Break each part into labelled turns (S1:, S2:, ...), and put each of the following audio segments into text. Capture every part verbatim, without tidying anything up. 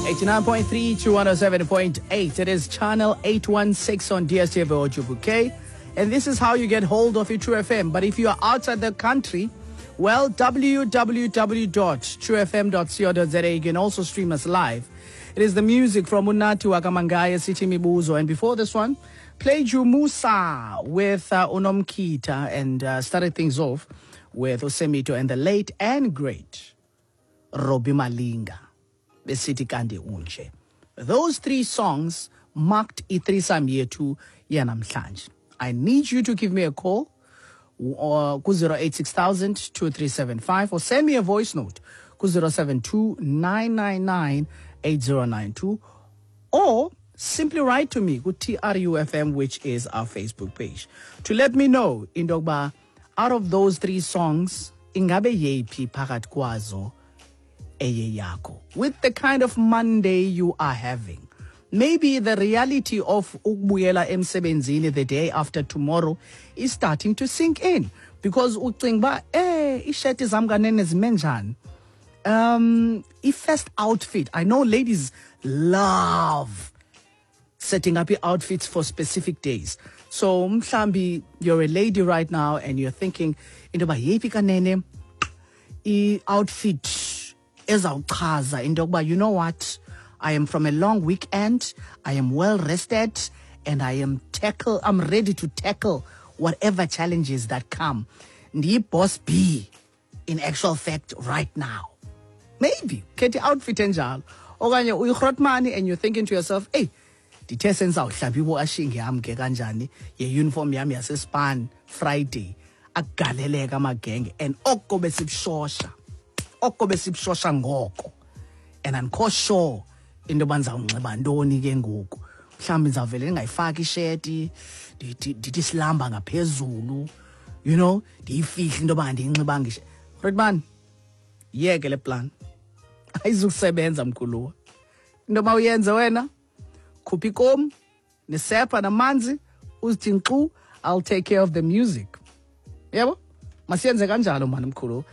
S1: eighty-nine point three to one oh seven point eight. It is channel eight one six on D S T V or Jubuke. And this is how you get hold of your True F M. But if you are outside the country, well, w w w dot true f m dot co dot z a. You can also stream us live. It is the music from Unathi Wakamangaya, City Mibuzo. And before this one, played you Musa with uh, Unomkita and uh, started things off with Osemito and the late and great Robbie Malinga. Besithi Kandi Unje. Those three songs marked i-threesome yethu yanamhlanje. I need you to give me a call or ku zero eight six thousand two three seven five or send me a voice note ku zero seven two nine nine nine eight zero nine two or simply write to me ku T R U F M, which is our Facebook page, to let me know into yokuba out of those three songs ingabe yeyiphi phakathi kwazo eye yakho. With the kind of Monday you are having, maybe the reality of ukubuyela emsebenzini the day after tomorrow is starting to sink in, because ucinga uba eh isheti zam kanene zime njani. Um, i-first outfit, I know ladies love setting up your outfits for specific days. So mhlambi you're a lady right now and you're thinking into yoba yeyiphi kanene i-outfit ezawuchaza into yokuba, you know what, I am from a long weekend, I am well rested, and I am tackle, I'm ready to tackle whatever challenges that come. Ndiyi-boss B in actual fact right now. Maybe khetha i-outfit enjalo. Okanye uyi-grootman and you're thinking to yourself, hey, ndithe sendizawuhlamba iwashing yam ke kanjani ye-uniform yam yasespan Friday, agaleleka amagenge and oko besibushosha. Oko besibushosha ngoko. And andikho sure into yoba ndizawunxiba ntoni ke ngoku. Mhlawumbi ndizawuvele ndingayifaki isheti, ndithi silamba ngaphezulu, you know, ndiyifihle into yoba andiyinxibanga isheti. Grootman, yeke le plan. Ayizukusebenza mkhuluwa. Into yoba uyenze wena, khupha ikomu, nesepha namanzi, uzithi nkxu, I'll take care of the music. Yebo? Masiyenze kanjalo mani mkhuluwa.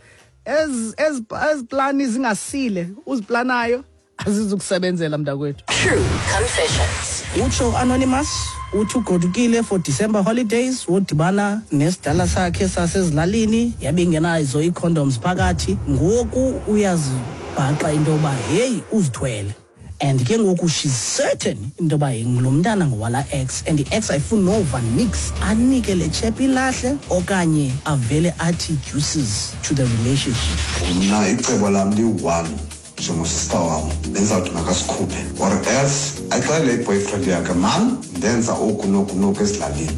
S1: Ez, ez, ez plani zingasile, uziplanayo, azizukusebenzela mntakwethu.
S2: True Confessions.
S1: Utsho Anonymous, uthi ugodukile for December holidays, wodibana nesidala sakhe sasezilalini, yabe ingenazo ii-condoms phakathi. Ngoku uyazibhaqa into yoba, hey, uzithwele. And ke ngoku she's certain into yoba ngulo mntana ngowala ex, and the ex ayifuni nova nix, anike le chep ilahle okanye avele athi juices to the relationship.
S3: Mna icebo lam liyi-one njengosista wam, bendizawuthi makasikhuphe or else axelele i-boyfriend yakhe, man, ndenza oku noku noku ezilalini,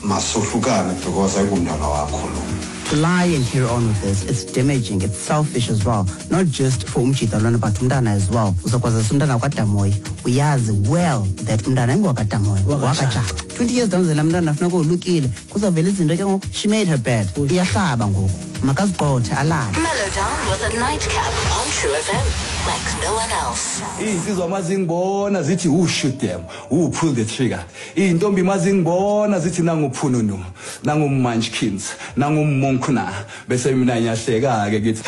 S3: masohlukane because ayingumntana wakho lo.
S4: To lie and carry on with this, it's damaging, it's selfish as well. Not just for umjita lona, but umntana as well. Uzokwazisa umntana wakwaDamoyi, uyazi well that umntana ingowakwaDamoyi, wakaJaca. twenty years down the line, umntana funeka olukile, kuzawuvela izinto ke ngoku. She made her bed. Iyahlaba ngoku. Makaziqothe alale.
S2: Mellow down with a nightcap on True F M, like no one else.
S5: Iinsizwa mazingibona zithi who shoot them, who pull the trigger. Iintombi mazingibona zithi nanguphununu, nangumunchkins, nangumonkuna. Bese mina ngiyahleka ke ngithi